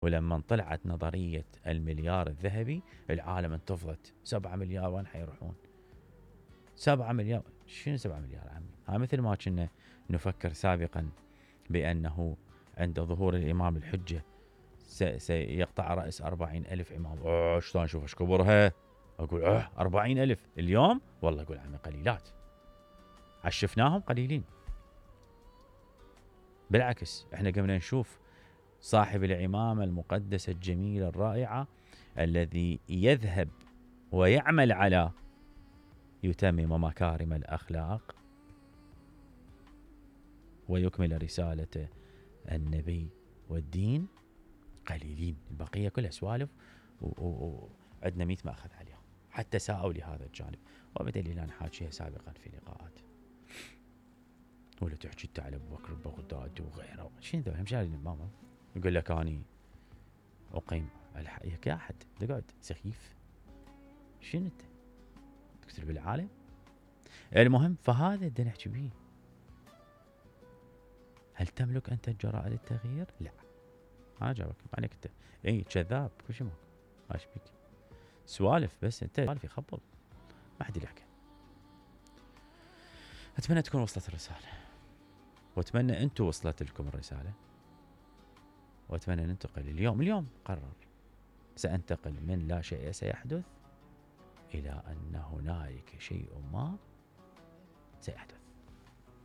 ولما طلعت نظرية المليار الذهبي العالم انتفضت. 7 مليار وين حيروحون؟ 7 مليار شنو 7 مليار عمي؟ ها مثل ما كنا نفكر سابقا بأنه عند ظهور الإمام الحجة سيقطع رأس 40,000 إمام. شلون أشوف ايش كبرها؟ أقول 40,000 اليوم؟ والله أقول عمي قليلات، عشفناهم قليلين. بالعكس احنا قمنا نشوف صاحب العمامة المقدسة الجميلة الرائعة الذي يذهب ويعمل على يتمم مكارم الأخلاق ويكمل رسالة النبي والدين قليلين. البقية كلها سوالف وعندنا 100 مأخذ عليها، حتى ساءوا لهذا الجانب. وبدليل أنا حاكيها سابقا في لقاءات. ولا تحكي انت على ابو بكر البغدادي وغيره، شنو ذول همشارين ماما يقول لك اني اقيم الحقيقة يا احد تقعد سخيف. شنو انت تكتب بالعالم؟ المهم فهذا بدنا نحكي بيه. هل تملك انت الجرأة للتغيير؟ لا. ما جاوبك عليك انت اي كذاب كل شيء ماكو. ايش بيك؟ سوالف بس انت سوالف يخبل ما حد يحكي. اتمنى تكون وصلت الرسالة، واتمنى انتم وصلت لكم الرسالة، واتمنى ننتقل اليوم قرر سأنتقل من لا شيء سيحدث إلى أن هنالك شيء ما سيحدث.